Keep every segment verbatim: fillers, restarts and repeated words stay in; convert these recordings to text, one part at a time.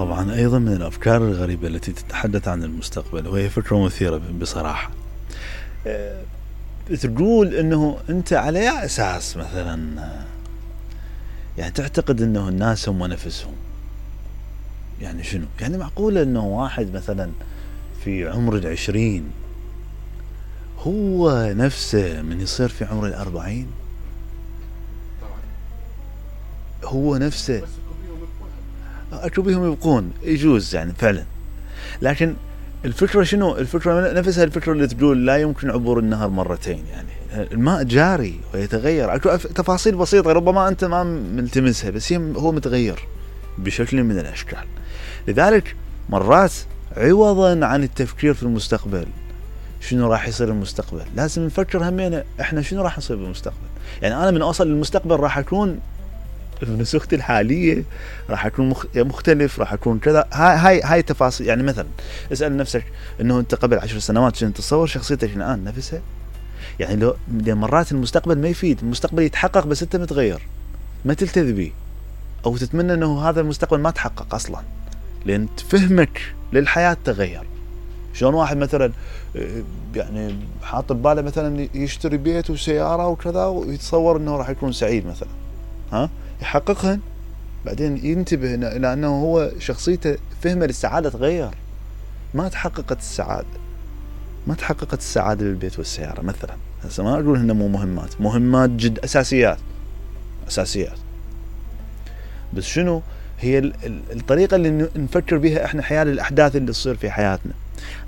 طبعا أيضا من الأفكار الغريبة التي تتحدث عن المستقبل، وهي فكرة مثيرة بصراحة. أه تقول أنه أنت على أي أساس مثلا يعني تعتقد أنه الناس هم نفسهم؟ يعني شنو؟ يعني معقولة أنه واحد مثلا في عمر العشرين هو نفسه من يصير في عمر الأربعين؟ هو نفسه أكو بيهم يبقون يجوز يعني فعلا، لكن الفكرة شنو؟ الفكرة نفسها الفكرة اللي تقول لا يمكن عبور النهر مرتين، يعني الماء جاري ويتغير، أكو تفاصيل بسيطة ربما أنت ما ملتمسها بس هو متغير بشكل من الأشكال. لذلك مرات عوضا عن التفكير في المستقبل شنو راح يصير المستقبل، لازم نفكر همينا احنا شنو راح يصير بالمستقبل. يعني انا من اوصل للمستقبل راح اكون بنسختي الحاليه، راح اكون مختلف، راح اكون كذا. هاي هاي هاي تفاصيل. يعني مثلا اسال نفسك انه انت قبل عشر سنوات شنو تتصور شخصيتك الان نفسها؟ يعني لو مرات المستقبل ما يفيد، المستقبل يتحقق بس انت متغير ما تلتذي به، او تتمنى انه هذا المستقبل ما تحقق اصلا، لان فهمك للحياه تغير. شلون واحد مثلا يعني حاط بباله مثلا يشتري بيت وسياره وكذا ويتصور انه راح يكون سعيد مثلا، ها يحققهن، بعدين ينتبه الى انه هو شخصيته فهمه للسعاده تغير، ما تحققت السعاده، ما تحققت السعاده بالبيت والسياره مثلا. هسه ما اقول انه مو مهمات، مهمات جد اساسيات اساسيات، بس شنو هي الطريقه اللي نفكر بها احنا حيال الاحداث اللي تصير في حياتنا.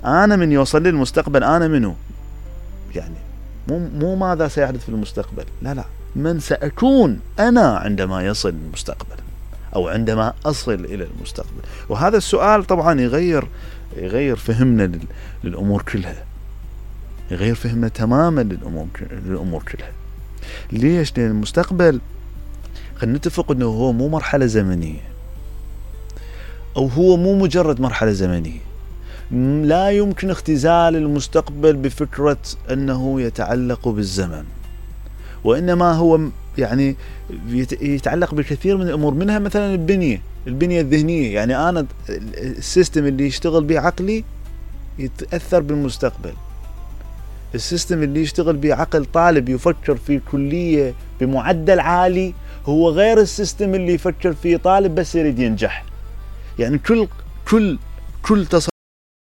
انا من يوصل لي المستقبل انا منو؟ يعني مو مو ماذا سيحدث في المستقبل، لا لا، من سأكون انا عندما يصل المستقبل او عندما اصل الى المستقبل. وهذا السؤال طبعا يغير يغير فهمنا للامور كلها، يغير فهمنا تماما للامور للامور كلها. ليش؟ لان المستقبل خلينا نتفق انه هو مو مرحله زمنيه، او هو مو مجرد مرحله زمنيه. لا يمكن اختزال المستقبل بفكرة أنه يتعلق بالزمن، وإنما هو يعني يتعلق بكثير من الأمور، منها مثلا البنية البنية الذهنية. يعني أنا السيستم اللي يشتغل به عقلي يتأثر بالمستقبل، السيستم اللي يشتغل به عقل طالب يفكر في كلية بمعدل عالي هو غير السيستم اللي يفكر فيه طالب بس يريد ينجح. يعني كل كل كل تصرف